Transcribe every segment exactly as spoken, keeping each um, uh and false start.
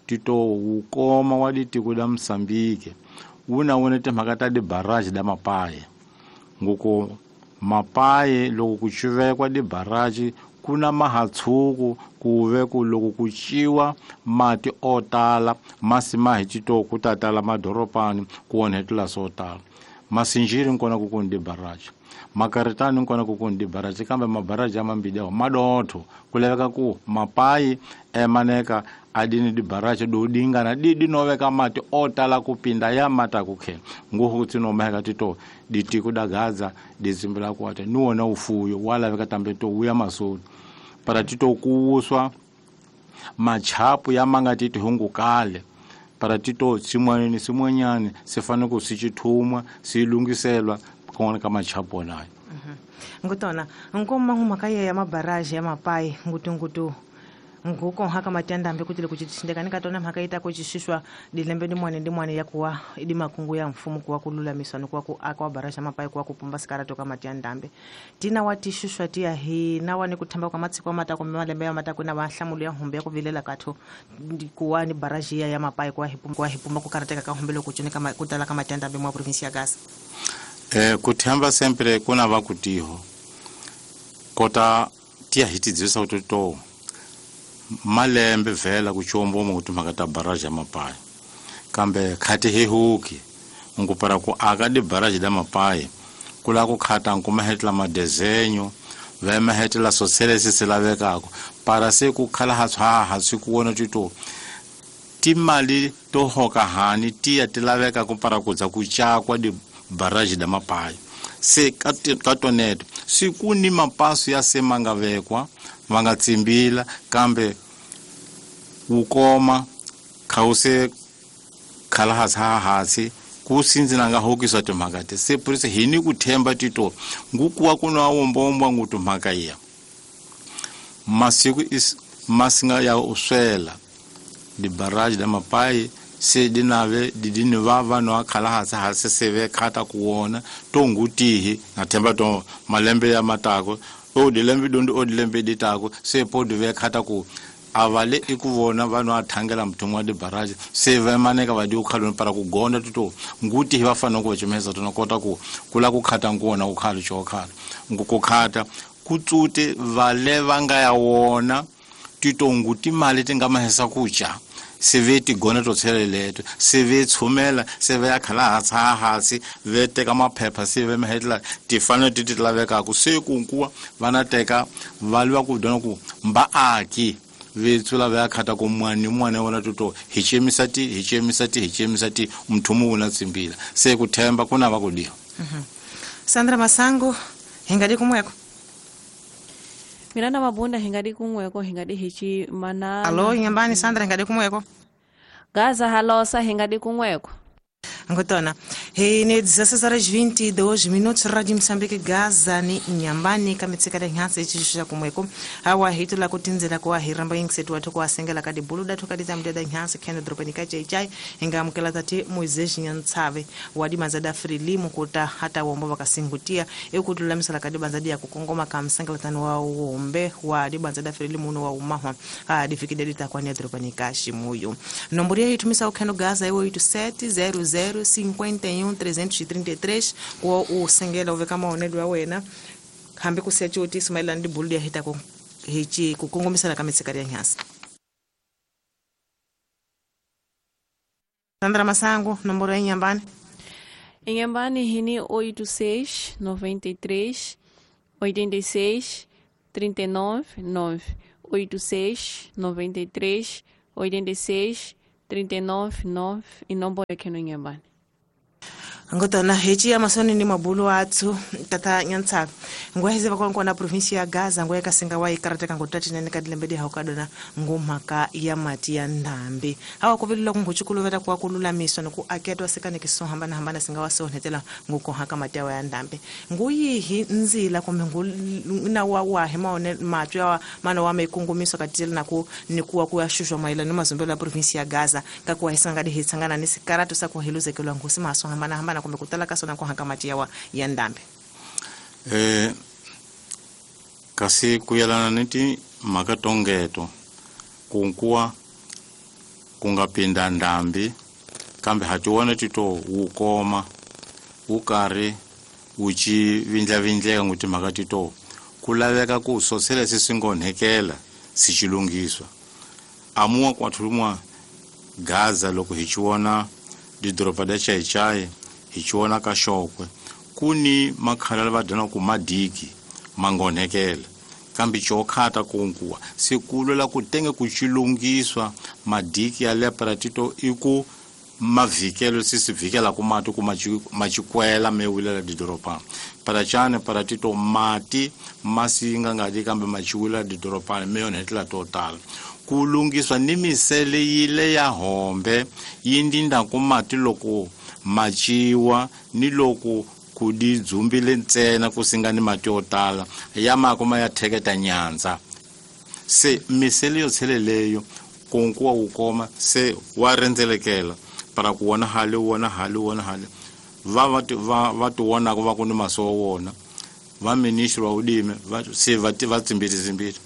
tito wukoma wa ditiko da Msambiki wu na wona timhaka ta dibaraji da mapaye nguko mapaye loko ku cuvekwa dibaraji ku na mahatshuku ku ve ku loko ku ciwa mati o tala masi ma hi tito ku ta tala madoropani ku onhetela swo tala masinjiri nkona ku ku dibaraji makaritani nkona ku ku dibaraji kambe mabaraji ya mambili awo madotho ku laveka ku mapayi emaneka adini dibaraji do dingana didi noveka mati o tala kupinda ya mata kukhe nguhu tsino maheka tito ditiko da Gaza dizimbila kwate nuona ufuyo wala veka tambe to uya masoni para tito kuuswa machapu ya manga tito hungu kale para tito simwani ni simwanyani sifane ku sichithumwa silungiselwa kona ka machapu nayo. Ngutona ngoma ngumaka ya mabaraji ya mapai ngutu ngutu nguko haka matenda ambe kutile kuchitindeka nikatona mhaka ita kuchishishwa dilembe ndi mwane ndi mwane yakuwa idi makungu ya mfumo kuwa kululamiswa nikuwa ku akwa barasha mapai kuwa kupumba sikara toka matenda ambe tina watishishwa tia hi nawa ni kuthamba kwa matsiko mata kwa malembe ya mata kuna wahlamulo ya humbe kuvilela katho kuwa ni baraji ya mapai kwa hipumba kwa hipumba kukarateka ka humbe lokuchoneka kutala ka matenda ambe mwa province ya Gaza. Eh kuthamba sempre kuna vakutiho kota tia hitidzisa kutoto malembe vhela kuchombo mutu makata baraji ya mapai kambe khati hehuki ngupara ku aka di baraji da mapai kula ku khata nkumahetla madesenyo vemahetla soselesi silavekako para se ku khala ha ha ha ku wona tito timali to hoka hani tiya tilaveka ku para kudza ku chakwa di baraji da mapai se katoneto siku ni mapaso ya semangavekwa vangatsimbila kambe wukoma khause khala ha hasi kusinzina nga hokiswa timhaka ti se purisa hini kuthemba tito ngukuwa kuna wombombwa ngutu mhaka iya masiku is masinga ya uswela di baraji da mapai se dinave didini vava no akhala hasi hasi seve khata kuwona to ngutihi na themba to malembe ya matako o dilembe dondo o dilembe ditako se podu ve khata ku avale ikuvona vanhu athangela mthumwa di baraji se va maneka va di ukhaloni para ku gonda tuto nguti hi vafana ku chimeza tonokota ku kula ku khata ngona ku khalo chokhala nguku khata kutsute vale vanga ya wona tito nguti mali tingamahesa kucha se ve tigona to tsheleleto se ve tshumela se ve ya khala ha hansi ve teka maphepha se ve mahetla tifano ti ti lavekaka se kunkuwa vana teka va lwa ku dona ku mbaaki ve tsula va khata ku mwani mwana wona toto hi chemisa ti hi chemisa ti hi chemisa ti mthumu wona tsimbila se ku themba kuna va ku diwa. Sandra Masango hingadi kumweko Miranda Mabunda hingadi kumweko hingadi hichi mana. Alo nyambani Sandra hingadi kumweko Gaza halosa hingadi kumweko Ngotona he ne dezesseis horas vinte e dois minutos Rádio Moçambique Gaza ni Inhambane kamitsika da nhanse chishusha kumweko hawa hitu la kutinzela kwa hiramba ingsetu watu kwa sengela kadi buluda tukadi zamda da nhanse kendo dropanika chai chai ingamukela tati Moisés Nyantsave wadi mazada frilimu kuta hata wombo vakasingutia ekutulamisala kadi banzadi ya kukongoma kamsengela tanu wa wombe wadi banzada frilimu no wa umahwa adifikide litakwani dropanika shimuyo nombori ya hitumisa ukendo Gaza iwo oito sete zero zero cinquenta e um trezentos e trinta e três ko o sengela uveka maonelo ya wena hambi ku siya coti sumailana ndi bulu ya hita ku hichi ku kongomisana ka mitsikari ya nyasi. Sandra Masango nomboro ya Inhambane Inhambane hini oito seis noventa e três oitenta e seis trinta e nove nove oito seis noventa e três oitenta e seis trinta e nove nove e nomboro aqui no Inhambane. Ngotona hechi ya masoni ni mabulu atsu tata nyantsaka ngweheze vakonko na provinsia ya Gaza ngwe kasinga wa ikarateka ngotati nene kadilembedi haukadona ngumhaka ya mati ya ndambi hawa kuvilila kunguchukuluveta kwa kululamiswa noku aketwa sekane kisohambana hambana singa wasonhetela ngukohaka mati ya ndambi nguyihi nzila kumbe na wa wahe maone matwi ya mana wa mekungumiswa katila naku nikuwa kuyashushwa maila ni mazumbelo ya provinsia ya Gaza kakuwa hisangadi hitsangana ni sikaratu sakuhiluzekelwa ngusi masohambana hambana kumbe kutala kasona kwa hankamati yawa ya ndambe. Eh kasi kuyalana niti makatongeto kunkuwa ku nga pinda ndhambi kambe ha tiwona tito wu koma wu karhi wu ci vindlavindleka ngu timhaka tito ku laveka ku sosele se swi ngonhekela si ci lunghiswa amuwa kwathulumwa Gaza loko hi ci vona didoroba da Chaichai hi ci vona ka Xokwe ku ni makhala va dyana ku madiki mangonhekela kambe chokhata kunkuwa se kulwela ku tenge ku chilungiswa madiki ya leparatito iku mavikelo sisi vikela ku mati ku machikwela mewilela didoropa parachane paratito mati masinga ngadi kambe machiwila didoropa meyonhetela total ku lungiswa ni misele yile ya hombe yindinda ku mati loko machiwa ni loko ku di dzumbile ntsena ku singa ni mati yo tala ya makoma ya theketa nyandza se misele yo tsheleleyo kunkuwa wu koma se wa rhendzelekela para ku wona hale wona hale wona hale va va va va tiwonaka va ku ni maso wa wona va ministri wa ulimi va se va va tsimbiti tsimbiti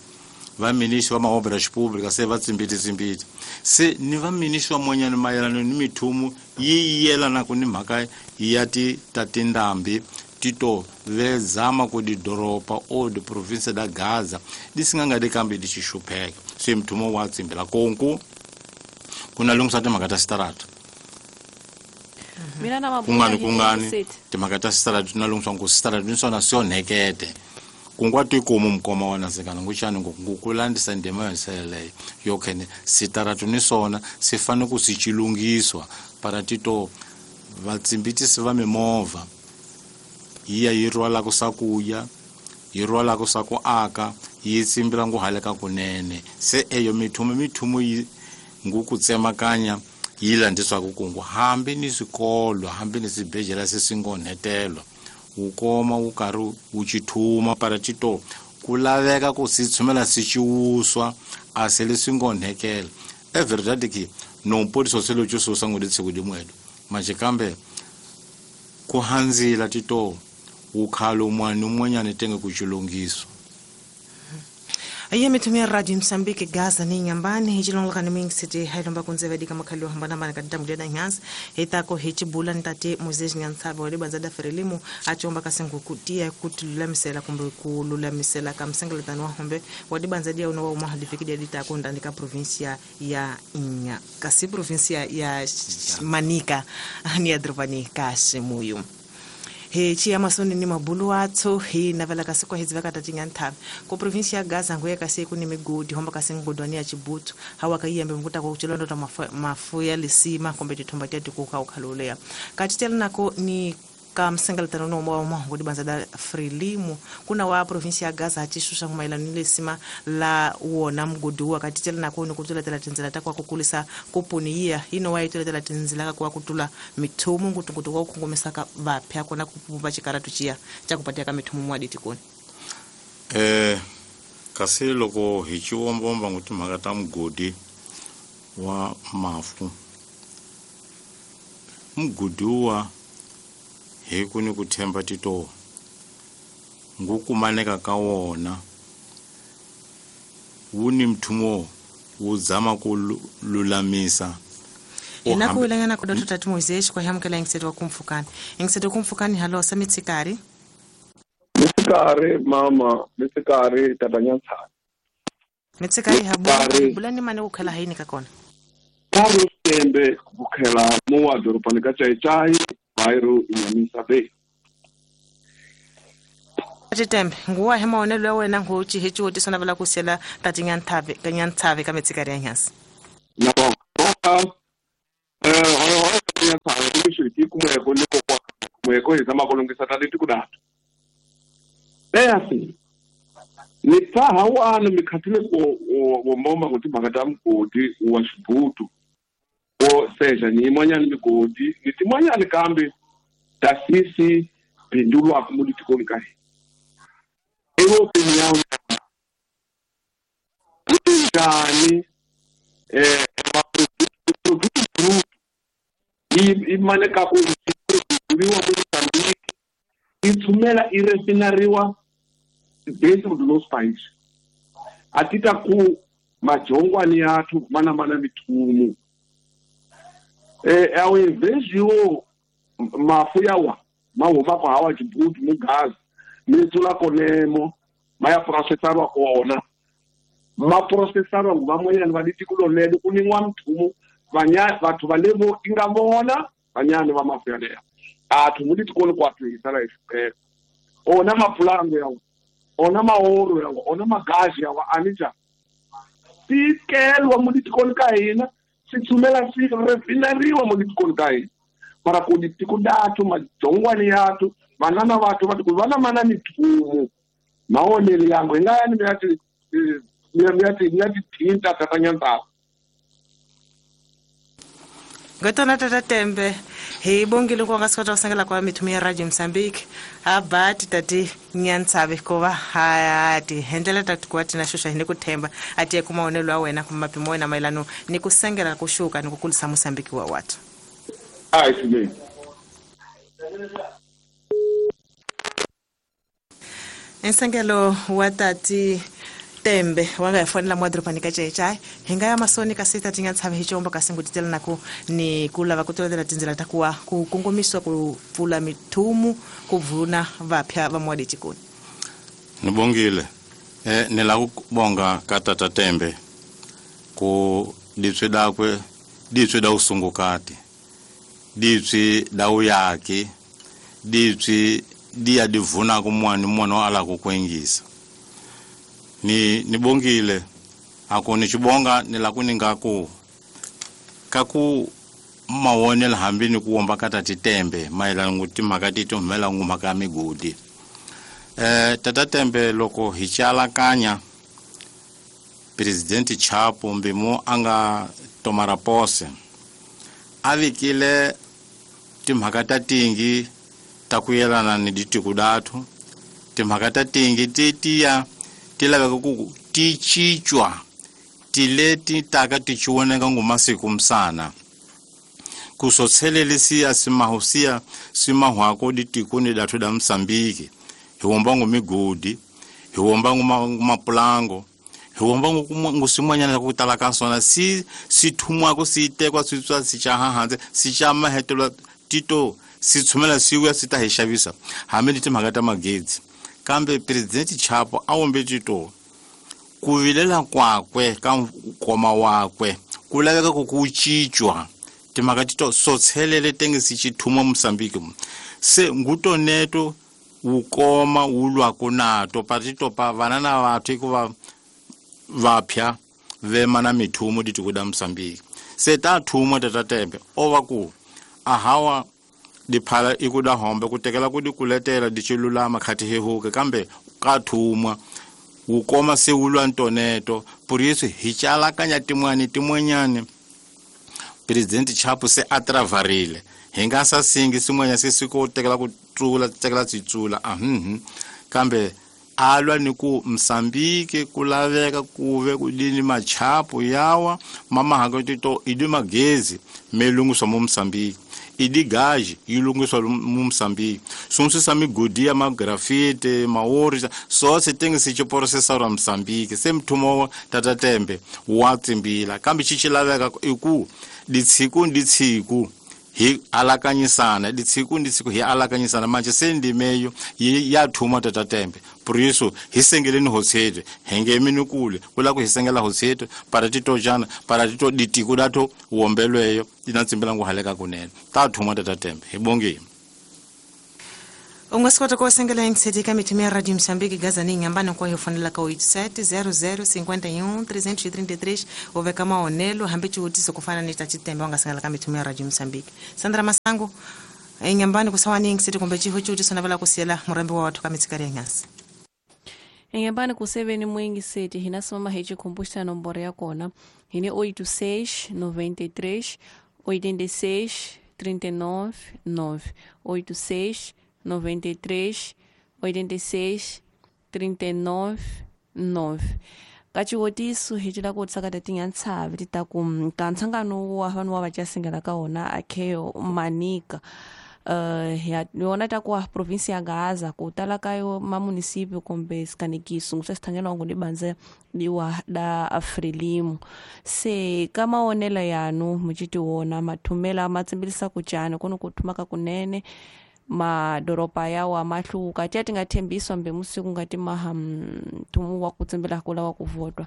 va ministri wa maobra pública se va tsimbiti tsimbiti se ni va ministri wa monyana mayelana ni mithumu yi yelanaka ni mhaka ya ti ta tindhambi tito vezama ku didoropa o diprovinsia da Gaza di singa nga di kambe di xixupheka se mthumo wa tsimbela konku ku na lunghisa timhaka ta sitarata mina na kungani kungani timhaka ta sitarata na lunghisa ku sitarata ni swona swi onhekete kungwa tikomu mukoma wa nasekana nguxani ngopfu ku landisa ndima yo seleleyo yo khene sitarata ni swona swi fanele ku swi chilungiswa para tito vatsimbitisi va mimovha yi ya yi rhwalaka swakuya yi rhwalaka swa ku aka yi tsimbila ngu haleka kunene se eyo mithumo mithumo yi ngu ku tsemakanya yi landiswaka kungu hambi ni swikolo hambi ni swibedhlele se swi ngonhetelwa wu koma wu karhi wu chithuma para tito ku laveka ku si tshumela si ciwuswa a se leswi ngonhekela é verdade que não pode só ser o tio sango de segundo moedo mas kambe ku hanzila tito ukhalo umwana umwanyana tenge kuchilungiswa. Aye mitumia Radio Msambiki Gaza ni nyambani hichilongoka ni mingi siti hailomba kunzeva dika makhalo hambana mana kadita mudeda nyansi hitako hichibula ntate Moses Nyantsaba wale banzada ferelimu achomba kasengu kutia kutululamisela kumbe kululamisela kamsengeletano wa hombe wale banzadia unowa umahalifikidia ditako ndani ka provincia ya Inya kasi provincia ya Manica ni adrovani Kashimuyu. He chia masoni ni mabulu atso he navela kasi kwa hizi vaka tatinga ntabe ko provinsi ya Gaza ngoya kasi kuni migodi homba kasi ngodwani ya Chibutu hawa kayembe mkuta kwa uchelondo ta mafu ya lisima kombe titomba tia kuka ukhalolea katitela nako ni kamsengeletano no mwa mwa banza Frelimu kuna wa provinsi ya Gaza hachishusha mailano ni lisima la wona mgodi wa katitela nako ni kutula tela tinzela takwa kukulisa kupuni iya ino wa itula tela tinzela kwa kutula mithumu ngutungutu kwa kungomesa ka vapya kona kupumba chikaratu chia cha kupatia ka mithumu mwa ditikoni eh kasi loko hi chiwombomba nguti mhaka ta mugodi wa mafu mugodi wa hi ku ni ku themba tito ngukumaneka ka wona wu ni mthumo wu zama ku lulamisa ina ku ilangana ku dotota Moisés kwa hamkela ingiseto wa kumfukani ingiseto kumfukani halo samitsikari mitsikari mama mitsikari tabanyatsa mitsikari habo bulani mane ku khela haini ka kona Carlos Tembe kukhela mo doropa ka Chaichai bairro Inhamisa Bay. Tembe nguwa hemaonelo ya wena ngochi hechiwotiso na vela kusela tatinyanthave kanyanthave ka mitsikari ya nyasi nabo eh hore kanyanthave kumishiti kumweko liko kwa kumweko izama kulungisa taliti kudatu basi ni tsaha wana mikhathile ko wombomba kuti mhaka mugodi wa Xibutu o seja ni imwanyana migodi ni timwanyana kambe tasisi bindulwa kumuli ka ewo pinyawo njani eh produto imane ka ku produziwa ku Mozambique ithumela irefinariwa dentro do nosso país atita ku majongwani yathu mana mana mithumu Eh ao invés yo mafu yawa ma huma ku hawa xibuti mu gaza mi tsula konemo ma ya processarwa kona ma processarwa ngu van'wanyana va litiko lonene ku nin'wa mthumu vanya vathu va le vo i nga vona vanyani va mafu yaleyo a thumu litikoni ku athu hisala hi ona mapulango yawa ona maoro yawa ona magazi yawa anija tikelwa mu litikoni ka hina swi tshumela swi refinariwa mu litikoni ka hina mara ku ditiko dathu majongwani yathu vanana vathu va tiku vana mana mithumu maonelo yangu hi nga yani mi ya ti mi ya ti mi ya ti thinta tata Nyantsava. Ngotona tata Tembe hi bongile ku nga swi kota ku sengela kwa mithumu ya Radio Mozambique a bati tati Nyantsave ko va ha ti hendlela tati ku tina xuxa hi ni ku themba a tiye ku maonelo ya wena kumbe mapimo wena mayelano ni ku sengela ku xuka ni ku kulisa Mozambique wa watu. Ai swinene. Nsengelo wa tati Tembe wa nga fonela mwa dropani ka chechai hi nga ya masoni ka sita tinga tshave hi chombo ka singutitela na ku ni ku lava ku tolela tindzela ta kuwa ku kongomiswa ku pfula mithumu ku vuna vapya va mwadi tikoni. Ni bongile eh ni la ku bonga ka tata Tembe ku ditswe dakwe ditswe da usungukati ditswe da uyaki ditswe dia divuna ku mwana mwana wa ala ku kwengisa. Ni nibongile ako ni chibonga ni la kuninga ku kaku mawonela hambi ni kuomba kata titembe maela nguti makati tumela ngumaka migodi eh tata Tembe loko hichala kanya President Chapo mbimo anga tomara pose avikile timhaka tingi takuyelana ni ditiku datu timhaka tingi titia tilaveka ku ti cincwa tileti taka ti chiwoneka ngumasiku msana kusotselelisiya simahusiya simahwako ditikuni datu da Msambiki hiwomba ngumigodi hiwomba ngumapulango hiwomba ngusimwanyana kutala ka sona si sithumwako sitekwa sitswa sichahahanze sichamahetelwa tito sitshumela siwuya sita hi xavisa hambi ni timhaka ta magezi. Kambe President Chapo a wombe tito ku vilela kwakwe ka nkoma wakwe ku laveka ku ku cincwa timhaka tito sotshelele tenge sichithuma Mozambique se ngutoneto wukoma wu lwako nato patito pa vana na vathu hikuva vapya vema na mithumu ditiko da Mozambique se ta thuma tata Tembe o va ku ahawa diphala ikuda hombe ku tekela ku dikuletela dichilulama khati hehuke kambe ka thuma wukoma se wulwa ntoneto puriso hi chalakanya timwani timwanyani President Chapo se atravarile hi nga sa singi sin'wanya se siko tekela ku tsula tekela tsitsula ahmm kambe alwa ni ku Mozambique ku laveka kuve ku dini machapo yawa mama hakotito idi magezi melungiswa mu Mozambique idi gaji yilungiswa mu Mozambique swonse migodi ya magrafite maori so se tenge se processor Mozambique se mthumo tata Tembe wa tsimbila kambe chichilaveka iku ditsiku nditsiku hi alakanyisana ditsiku nditsiku hi alakanyisana manje se ndimeyo ya thuma tata Tembe puriso hi sengeleni hotsete henge minukule kula ku hi sengela hotsete para titojana para tito ditiku dato wombelweyo ina tsimbela nguhaleka kunene ta thuma tata Tembe hi bongile. U nga swi kota ku sengela yingiseti ka mithumu ya Radio Mozambique Gaza ni Inhambane kwa hi fonela ka oito sete zero zero cinquenta e um trezentos e trinta e três u veka maonelo hambi xivutiso ku fana ni ta Chitembe u nga sengela ka mithumu ya Radio Mozambique. Sandra Masango Inhambane ku sawani yingiseti kumbe xiho xivutiso navela ku siyela murhambi wa wathu ka mitsikari ya nghasi. Inhambane ku seveni muingiseti hina simama hi chikhumbuxa nomboro ya kona hi ni oito seis noventa e três oitenta e seis trinta e nove nove oito seis noventa e três oitenta e seis trinta e nove nove kachiwotiso hi cila ku tsakata tinyantshavi ti ta ku ka nhlangano wa vanhu wa va casingela ka wona akheo manika uh, ya yona ta ku provinsia ya Gaza ku tala ka yo ma município kumbe sikanekiso nguse sithangelwa ngunibanze diwa da Frelimo se ka maonelo yanu muchiti wona mathumela matsimbilisa kuchani kuno kuthumaka kunene madoropa yawo amahluka tiya tingathembiswa mbe musiku ngati maha mthumu wa kutsimbila kula wa kuvotwa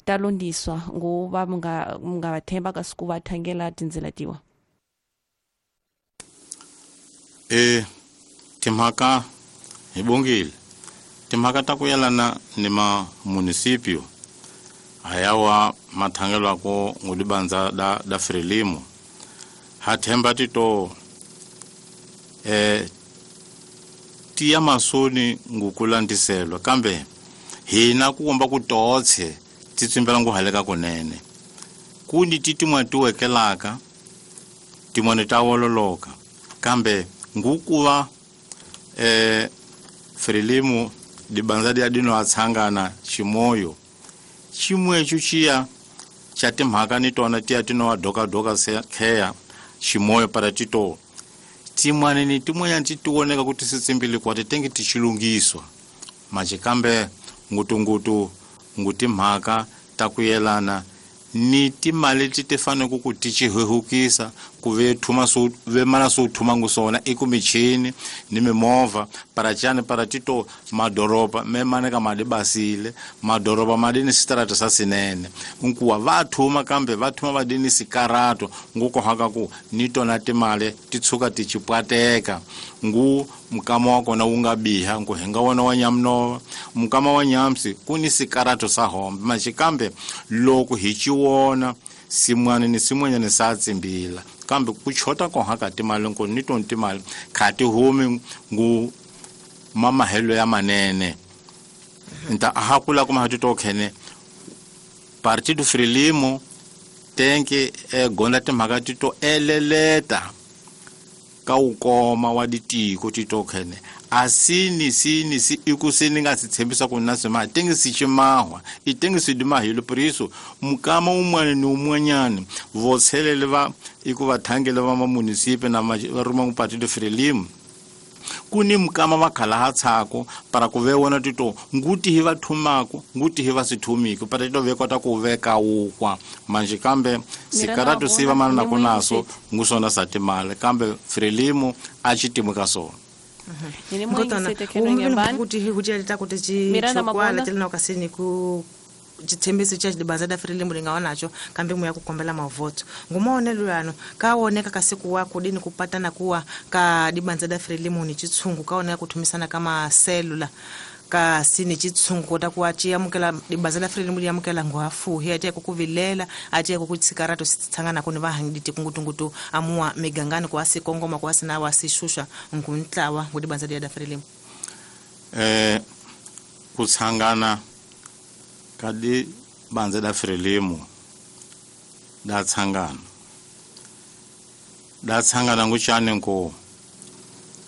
talondiswa nguva mungathemba kasiku vathangela tindzela tiwa e timhaka hi bongile timhaka ta ku yelana ni ma municipio ayawa mathangelwako ngulibanza da, da Frelimo ha themba tito eh tiya masoni ngukulandiselwa kambe hina kuomba kutotse titsimbela nguhaleka kunene kundi titimwa tiwekelaka timone ta wololoka kambe ngukuva eh Frelimo dibanza dia dino atsangana chimoyo chimwecho chiya cha timhaka ni tona tiya tinowa doka doka kheya chimoyo para tito timwane ni timwenya titioneka kuti sitsimbili kwati tenge tichilungiswa manje kambe ngutungutu ngutimhaka takuyelana ni timali ti fanele ku ti chihehukisa ku ve thuma so ve mana so thuma ngusona ekumichini ni mimovha para chani para tito madoroba me mana ka madi basile madoroba madini sitarata sa sinene nkuwa va thuma kambe va thuma vadini sikarato ngukohaka ku ni tona timali ti tshuka ti chipwateka ngu mukama wa kona wu nga biha nku hi nga wona wa nyamnova mukama wa nyamsi ku ni sikarato sa hombe maxikambe loko hi chiwona simwana ni simwanyana sa tsimbila kambe ku chota koha ka timali nku ni tona timali kha ti humi ngu mamahelo ya manene nta aha kula kuma ha tito khene Partido Frelimo tenke e gonda timhaka tito eleleta ka ukoma wa ditiko tito khene asini sini si ikusini nga sithembisa ku na sima tengi sichimahwa itengi sidimahilo priso mukama umwana ni umwanyana votshelele va ikuvathangele va mamunisipe na va ruma Partido Frelimo kuni mukama va khala ha tshako para ku ve wona tito nguti hi va thumako nguti hi va sithumiko para tito ve kota ku veka ukwa manje kambe sikaratu siva mana na kunaso ngusona sa timali kambe Frelimo a xitimu ka sona kuti kuti alita kuti chikwala tilina kasini ku chithembiso cha dibanza da Frelimo lingawa nacho kambe muya kukombela mavoto ngumaonelo yano kaoneka kasiku wako dini kupatana kuwa ka dibanza da Frelimo ni chitsungu kaoneka kuthumisana kama selula kasi ni chitsungu kota kuwa chiyamukela dibanza da Frelimo liyamukela ngwafuhi atiya kukuvilela atiya kukutsikarato sitsangana kuni vahangiditi kungutungutu amuwa migangani kuwasi kongoma kuwasi na wasishusha nguntlawa ngudibanza da Frelimo eh kutsangana kadi banza da Frelimo da tsangana da tsangana nguchane nko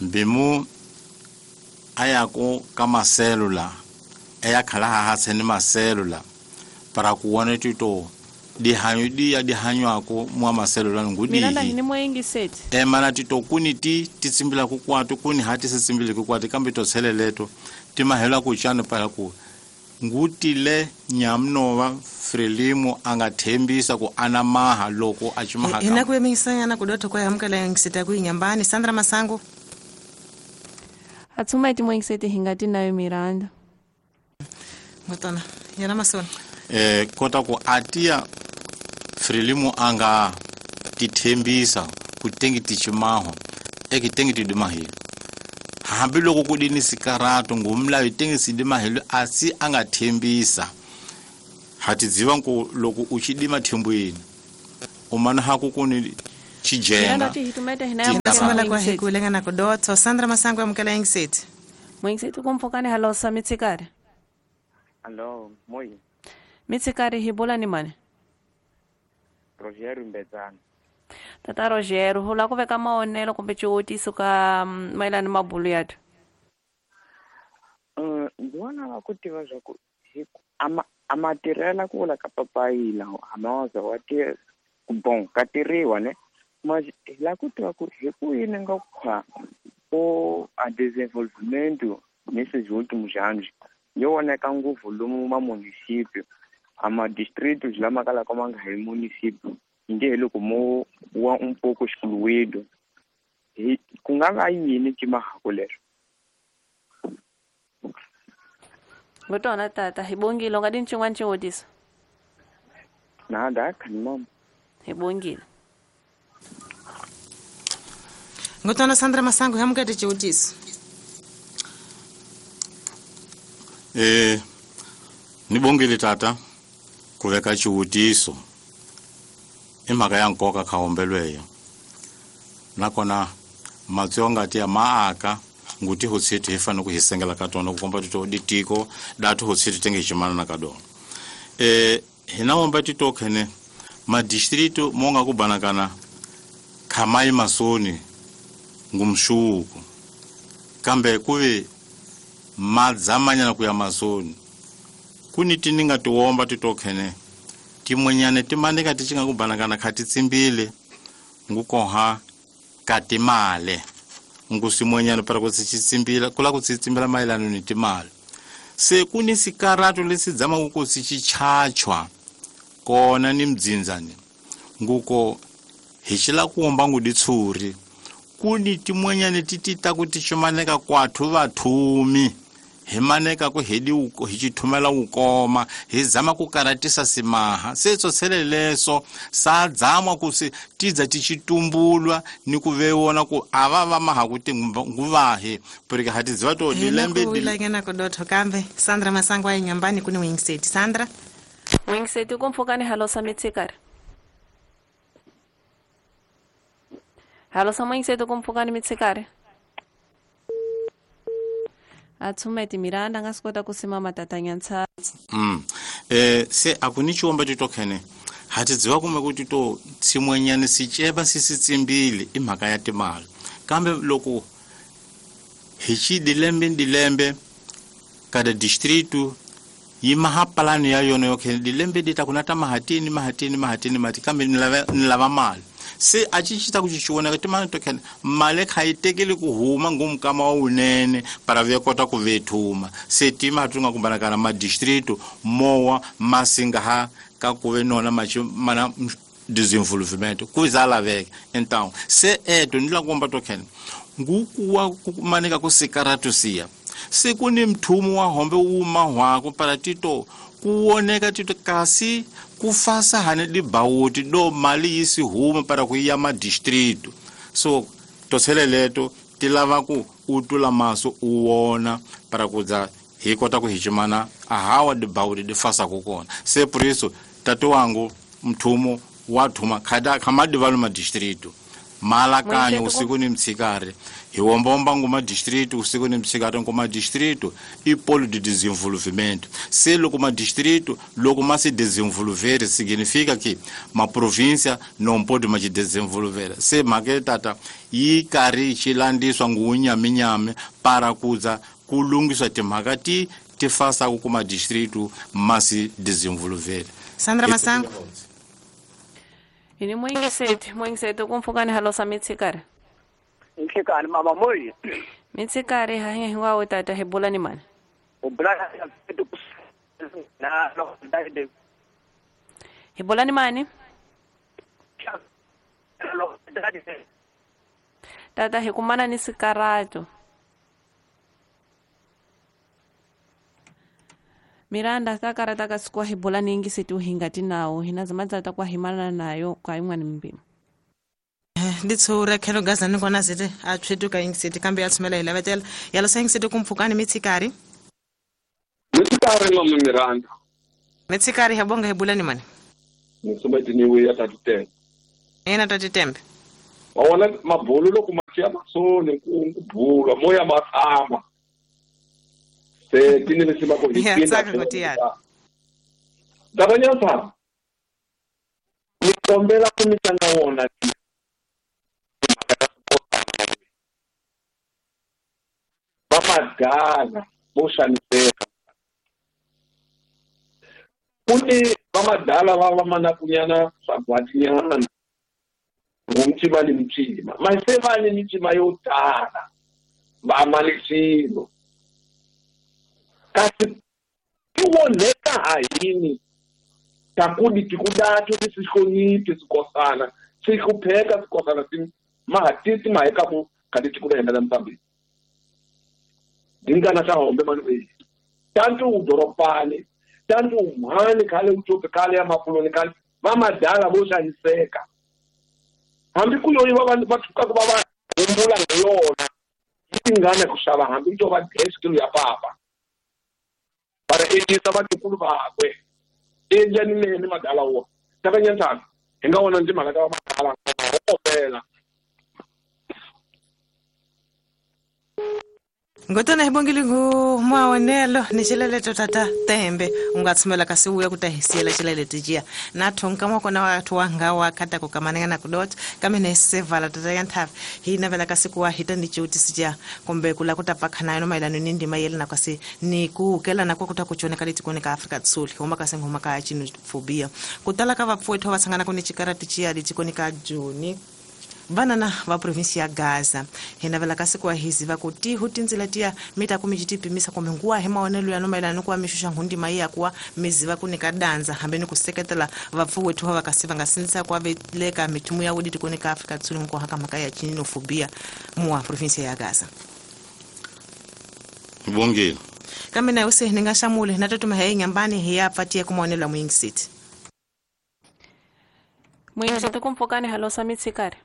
mbimu ayako ka maselula eyakhala hahatse ni maselula para kuona tito dihanyo di ya dihanywako mwa maselula ngudi ni mwengi set e mana tito kuni ti titsimbila ku kwatu kuni hati sitsimbile ku kwatu kambe to tsheleleto timahela ku chane para ku ngutile nyamnova Frelimo angathembisa ku anamaha loko a chimaha hina ku yemisanyana kudotho kwa yamkela ngisita ku inyambani Sandra Masango atsuma ti mwengisete hingati nayo Miranda ngotona yana masona eh kota ku atia Frelimo anga tithembisa ku tengi tichimaho ekitengi tidimahilo hambiloko ku dini sikarato ngumlayo tengi sidimahilo asi angathembisa hatidziva ku loko u chidima thembweni umana haku kuni chijenga kwa hikulenga kudotho Sandra Masango amukela ngiseti mwengiseti kumfokane halosa mitsikari Hello moi mitsikari hibola ni mane Rogério Mbedzana Tata Rogério hula ku veka maonelo kumbe xiwutiso ka mayelana ni mabulu yathu um ndzi vona va ku tiva swa ku ama a matirhela ku vula ka papayila a ma waza wa tirha bon ka tirhiwa ne Mas hi lava ku tiva ku hi ku yini nga khwa o a desenvolvimento nesses últimos anos yo voneka ngopfu lomu ma município a ma distritos lama kalaka ma nga hi município nge hi loko mo wa um pouco excluído hi ku nga va yini timhaka leswo. Ngotona tata hi bongile u nga di ncin'wana xivutiso. Nada khani mama. Hi bongile. Ngotona Sandra Masango hi amukete xivutiso. Eh ni bongile tata ku veka xivutiso i mhaka ya nkoka khaombelweyo nakona matsonga ti ya maaka nguti hotsiti hi fanele ku hi sengela ka tona ku komba tito ditiko datu hotsiti tenge ximana na ka dona eh hina womba tito khene ma distrito mo nga ku banakana khamai masoni ngumshuku kambe kuve madzamanyana ku ya masoni kuni tininga tiwomba titokhene timwenyane timanika tichinga kubanakana khati tsimbile ngukoha katimale ngusimwenyane para kutsitsimbila kula kutsitsimbila mayelana ni timale se kuni sikarato lesidzama kukosi chichachwa kona ni mdzinzani nguko hichila kuomba nguditsuri kuni timwenyane titita kuti chimaneka kwathu vathumi himaneka ku hedi uko hichithumela ukoma hizama ku karatisa simaha setso seleleso sadzamwa kusi tidza tichitumbulwa ni kuvewona ku ava va maha kuti nguvahi porque hatiziva to dilembe dilangena kudotho kambe Sandra Masango a Inhambane kuni Wingstate Sandra Wingstate kumfukani halosa mitsikari halosa Wingstate kumfukani mitsikari atsumeti Miranda nga swi kota ku simama tatanya mm eh se akuni chiomba titokhene hatidziwa kumbe kuti to tsimwenyane sicheva sisitsimbile i mhaka ya timali kambe loko hi chi dilembe dilembe kada distrito yi maha palani ya yona yo khene dilembe dita kuna ta mahatini mahatini mahatini mati kambe ni lava ni lava mali se a ci ci ta ku ci timali to khene mali kha yi tekeli ku huma ngumkama wa wunene para ve kota ku vethuma se tima tunga kumbanakana ma distrito mowa masinga ha ka ku ve nona machi mana desenvolvimento ku zala veke então se eto ni la komba to khene ngukuwa kumanika ku sikaratu siya se ku ni mthumu wa hombe wu mahwako para tito kuoneka tito kasi kufasa hane dibawuti do mali yisi huma para ku ya ma distrito so toseleleto tilava ku utula maso uwona para kudza hi kota ku hichimana ahawa dibawuti difasa kukona se por isso tatu wangu mthumu wa thuma khada khamadi ma distrito malakanyo usiku ni mtsikari hi wombomba nguma distrito usiku ni mtsikari nguma distrito i polo de desenvolvimento se loko ma distrito loko ma se desenvolver significa que ma província não pode mais desenvolver se maketata yi kari chilandiswa ngunyaminyami para kuza kulungiswa timhaka ti ti fasa kuma distrito ma se desenvolver. Sandra Masango ini mwingiseti mwingiseti kumfukani halosa mitsikari Nhlekani mama moyi mitsikari hahe hinkwawo tata hi bula ni mani hi bula ni mani tata hi kumana ni sikarato Miranda takarata ka sikwa hi bula ni ingiseti uhingati nawo hina zamadza kwa himana nayo kwa imwani mbima nditsura khelo gazani kona zete a tswetuka ingiseti kambe ya tsumela hi lavetela yalosa ingiseti kumpfukani mitsikari mitsikari mama Miranda mitsikari habonga hi bula ni mani nisometi niwe ya tatitembe ena tatitembe wawona mabulu loko machiya masoni ku kubula moya matama se tini lesima ko hi tsaka ku tiyana dabanyasa ni kombela ku mi tlanga wona va madala vo xaniseka ku ni va madala va va manakunyana swagwatinyana Ngumcima ni mcima mas se va ni micima yo tala va mali xilo kasi ti onheka ha yini takudi tikudatu tisihloniphi swikosana swi hlupheka swikosana swi mahatisi mahekaku kanti tikuda henda la Mozambique dingana ta hombe mani we tantu udoropani tantu umhani khale uchope khale ya makuloni khale va madala vo xaniseka hambi ku yoyi va va tshuka va va humbula hi yona tingana ku xava hambi to va kilo ya papa para endlisa vatukulu vakwe endlani nene madala wo takanyantana hi nga vona ndzi mhaka ta va madala opela Ngotona hibongile ngu maonelo ni xileleto tata Tembe u nga tshumela kasi uya ku ta hisiyela xileleto jiya na thonka makona wa thu wanga wa khata ku kamananga na kudot kame ne sevala tata ya nthavi hi navela kasi ku wa hita ni cutisi jiya kumbe ku la ku ta pakhana no mayelana ni ndima yele na kasi ni ku kela na ku ta ku chona ka letikoni ka Afrika Tsuli huma kasi huma ka xenofobia ku tala ka vapfuwethu va tshangana ku ni xikarati jiya letikoni ka Joni vanana va provinsi ya Gaza hi navela kasi ku hiziva ku tihu tindzila tiya mi ta ku mi tipimisa kumbe nguwa hi maonelo ya no mayelana ni ku wa mi xuxa nghundima ya kuwa mi ziva ku nyika danza hambi ni ku seketela vapfuwethu va kasi va nga sindzisa ku veleka mithumu ya wudi tikoni ka Afrika Dzonga ku haka mhaka ya xenofobia muwa provinsi ya Gaza Bongile kambe na use ni nga xamule na tatuma hi nyambani hi ya pfatiye ku maonelo ya muyingisiti Muyingisiti kumpfukani halosa mitsikari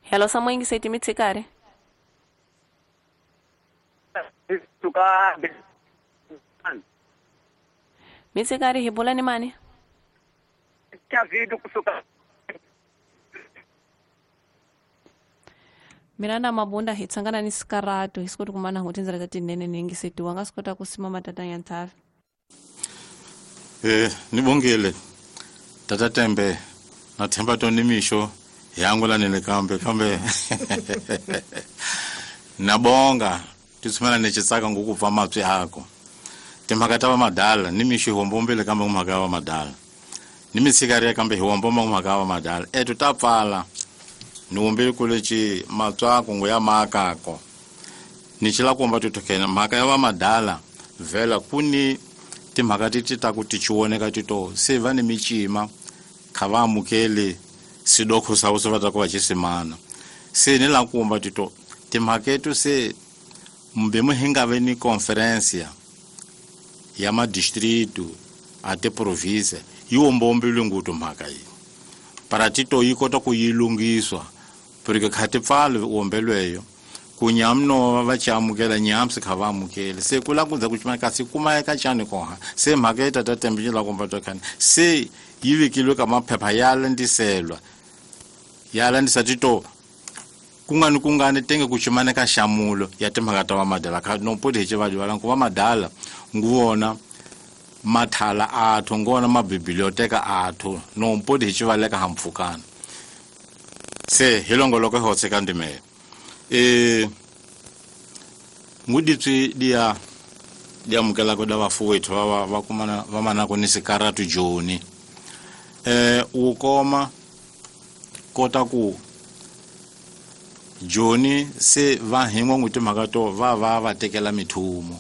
Hello samoyingiseti mitsikari Suka mitsikari hi bula ni mani Chavido kusuka Mina na mabunda hi tsangana ni sikaratu hi sikoti kumana ngo tindzela ta tinene ni yingiseti wa nga swi kota ku sima matata ya nthavi Eh ni bongile tata Tembe na themba to ni mixo hi nile kambe kambe nabonga titsumela ni xitsaka ngokupfa mapsi ako timhaka ta va madala ni mixo hi hombombile kambe mhaka ya va madala ni mitshikariya kambe hi hombomba mhaka ya va madala etu ta pfala ni wombile ku lexi matswako ngo ya maakako ni xila komba titokhena mhaka ya va madala vhela ku ni timhaka ti ti ta ku ti chiwoneka tito se va ni micima kha va amukeli sidokho sa se va ta ku va xisimana se ni la kumba tito timhaketo se mbe mu hi nga ve ni conferencia ya madistritu a tiprovinsi yi wombombile ngutu mhaka yi para tito yi kota ku yi lunghiswa porque kha ti pfali wombelweyo ku nyamno va ci amukela nyamsi kha va amukeli se ku la ku za ku cima kasi kuma eka cani koha se mhaka yi tata Tembe yi la kumba to khani se yi vekilwe ka maphepha ya landziselwa ya landzisa tito kungani kungani tenge ku cimana ka xamulo ya timhaka ta va madala kha no poti hi xivalivala ku va madala nguvona mathala athu ngona mabiblioteka athu no poti hi xivaleka hampfukana se hi longoloko hi hotseka ndimele e nguditswi dia dia amukela ku da vafuwethu va va kumana va manako ni sikaratu Joni eh u koma kota ku Joni se va hingwa n'wi timhaka to va va va tekela mithumo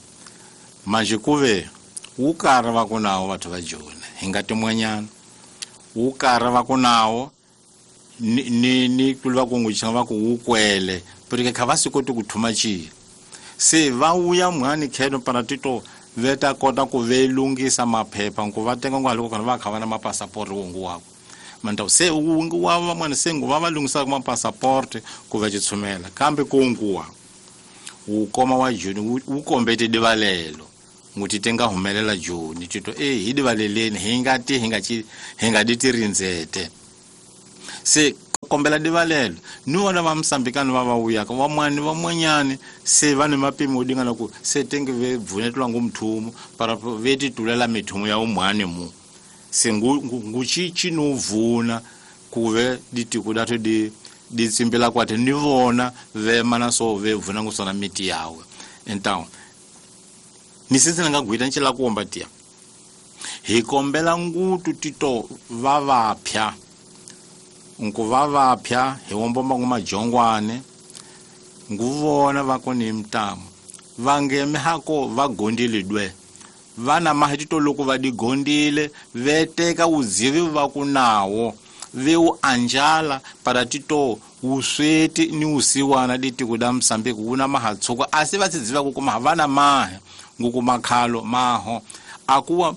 manje ku ve wu karhi va ku nawo batho va Joni hi nga tin'wanyana wu karhi va ku nawo ni ni ni ku va ku n'wi va ku wu kwele porque kha va swi koti ku thuma xilo se va wuya mhani kheno para tito veta kota ku ve lunghisa maphepha ku va tenga ngo haloko va kha va na mapasaport wongu wako manda se wungu wa van'wana se ngu va va lunghisaka mapasaport ku va xitshumela kambe ku nkuwa wu koma wa Joni wu kombete divalelo nguti tenga humelela Joni tito eh hi divaleleni hi nga ti hi nga ci hi nga di tirindzete se kombela divalelo ni vona va Mosambikani va va wuyaka van'wani van'wanyani se va ni mapimo dingana ku se tenge ve bvunetwa ngu mthumo para ve titulela mithumo ya umhani mu se ngu ngu chichi no vuna ku ve ditiko dathu di di tsimbela kwathe ni vona ve mana so ve vuna ngu sona miti yawe então ni sisi nga gwita ncila kuomba tia Hi kombela ngutu tito va vapya nku va vapya hi wombomba ngu majongwane nguvona va koni mtamu vangeme hako va gondile dwe vana mahitito loko va digondile veteka uzivi va ku nawo veu anjala para tito usweti ni usiwana ditiko da Msambiki una mahatsuko asi va tsidziva ku kuma vana mahe nguku makhalo maho akuwa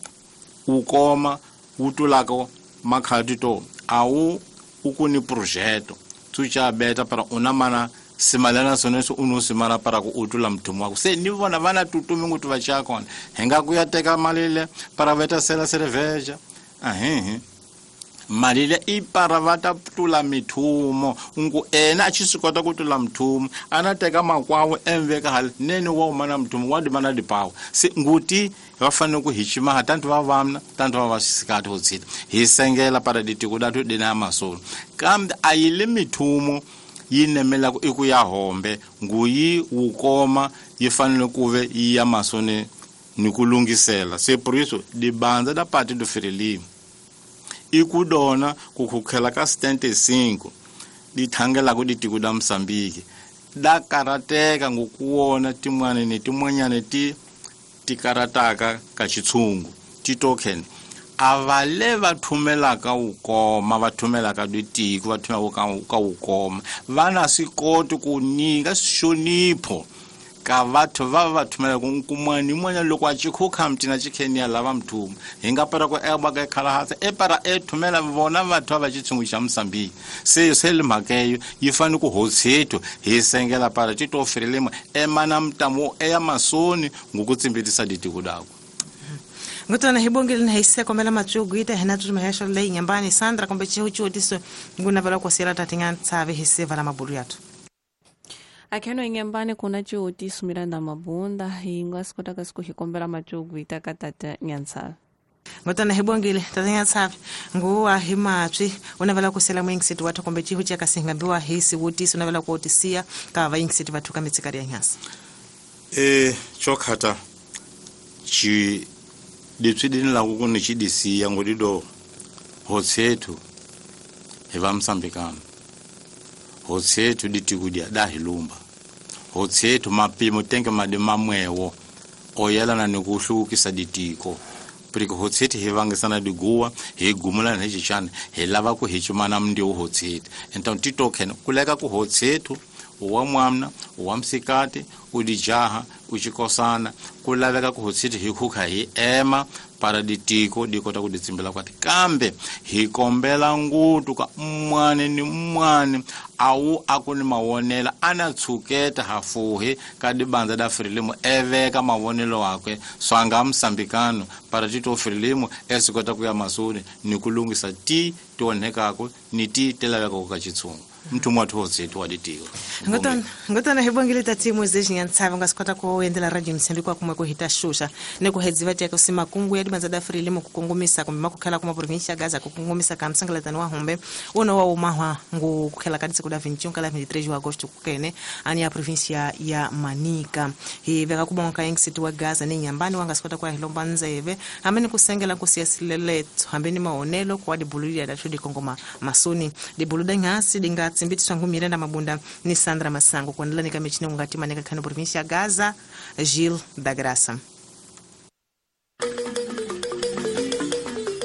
ukoma utulako makhalo tito awu ukuni projeto tsucha beta para una mana simalana soneso uno simara para ku utula mthumu wako se ni vona vana tutumi ngutu va chakona hinga kuya teka malile para veta sela cerveja ahehe malile i para vata tula mithumo ngu ena a tshi swi kota ku tula mthumo ana teka makwawo emveka hali nene wa umana mthumo wa dimana dipawa se nguti va fanele ku hi chimaha tantu va vamna tantu va va xisikati ho tshita hi sengela para ditiko datu dina masolo kambe a yi le mithumo yi nemelaka i ku ya hombe nguyi wukoma yi fanele ku ve yi ya masoni ni ku lunghisela se por isso dibandza da Partido Frelimo i ku dona ku khukhela ka setenta e cinco di thangelaka ditiko da Msambiki da karateka ngokuwona tin'wana ni tin'wanyana ti ti karataka ka xitshungu ti token a va le va thumelaka wukoma va thumelaka ditiko va thumelaka ka wukoma va na swi koti ku nyika xonipho ka vathu va va thumelaka nkumani yin'wanyana loko a chikhukha mtina chikheniya lava mthumo hi nga para ku ebaka ekhalahasa e para e thumela vona vathu va xitshungu xa Msambiki se se le mhaka eyo yi fanele ku hotshethu hi sengela para tito Frelimo emana mtamu eya masoni ngokutsimbitisa ditiko dako. Ngutona hibongile na hise komela matsugu ita hina tutumehesha le nyambani Sandra kombe chihuchiutiso nguna vala kwa tatinga tsave hise vala mabulu yatu. Akheno inyambani kuna chiutiso Miranda Mabunda hinga sikotaka siku hikombela matsugu ita katata nyantsave. Ngutona hibongile tatinga tsave nguwa himatswi unavala kusela mwingisiti watu kombe chihuchi akasingambiwa hisi utiso unavala kuotisia ka vayingisiti watu kamitsikari ya nyasa. Eh chokhata chi leswi ni lava ku ni xidisiya ngodido hotshethu hi va Msambikana hotshethu ditiko dia da hi lumba hotshethu mapimo tenge madi mamwewo oyelana ni ku hluvukisa ditiko porque hotshethu hi vangisana diguwa hi gumulana hi xichana hi lava ku hi chumana mndiwu hotshethu então titoken kuleka ku hotshethu wa mwamna wa msikati udijaha uchikosana ku laveka ku hotshethu hi khukha hi ema para ditiko dikota ku ditsimbela kwati kambe hi kombela ngutu ka mwane ni mwane awu akuni mawonela ana tshuketa hafuhi ka dibandza da Frelimo eveka mavonelo wakwe swanga Msambikano para tito Frelimo esikota ku ya masoni ni ku lunghisa ti tionhekako ni ti telavekako ka xitshungu mthumo wa hotshethu wa ditiko. Ngutona ngutona hibongile tati Moises Nyantsave ngasikota ku endlela radio Msambiki kwa kumwe ku hita shusha ne ku hedziva teka simakungu ya dibandza da Frelimo ku kongomisa kumbe makukhela kuma provincia Gaza ku kongomisa ka msangalatani wa hombe uno wa umahwa ngu kukhela ka disiku da vinte e um kala vinte e três de agosto kukene ani ya provincia ya Manica hi veka kubonga ka yingisiti wa Gaza ni nyambani wangasikota kwa hilomba nzeve hamene kusengela kusiyasilele hambeni maonelo kwa dibululia da tudi kongoma masoni dibuluda ngasi dinga tsimbitswa ngu Miranda Mabunda ni Sandra Masango kuendelea nika michine ungati maneka kano provincia Gaza Gil da Graça.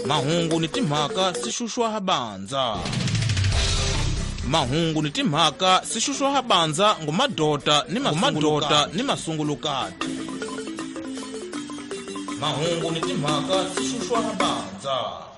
Mahungu ni timhaka sixuxwa habanza. Mahungu ni timhaka sixuxwa habanza ngumadota ni mamadota ni masungulukati. Mahungu ni timhaka sixuxwa habanza.